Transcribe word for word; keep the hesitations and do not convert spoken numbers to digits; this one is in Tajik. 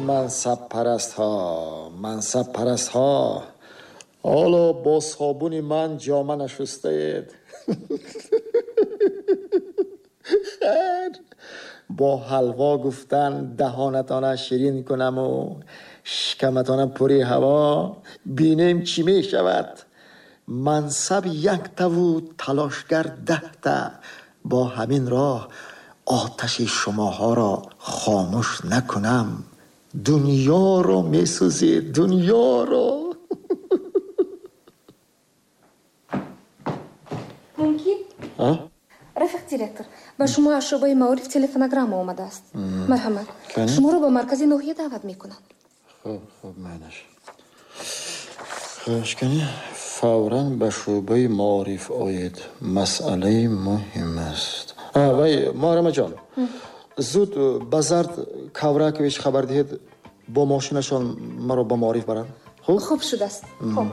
мансаб парастҳо, мансаб парастҳо, ҳоло бо собуни ман ҷома нашустаед. Хайр, бо ҳалво гуфтан даҳонатона ширин кунаму шикаматона пури ҳаво, бинем чӣ мешавад. Мансаб яктаву талошгар даҳта. Бо ҳамин роҳ оташи шумоҳоро хомӯш накунам, дунёро месӯзед, дунёро. Мумкин? Рафиқ директор, ба шумо аз шӯъбаи маориф телефонограмма омадааст. Марҳамат, шуморо ба маркази ноҳия даъват мекунанд. Хуб, хуб, майнаш. Хуш кани, фавран ба шӯъбаи маориф оед. Масъалаи муҳим аст. Вай, Муҳаррамаҷон, зуд ба Зард Кавракович хабар диҳед, бо мошинашон маро ба маориф баранд. Хуб? Хуб шудааст. Хуб.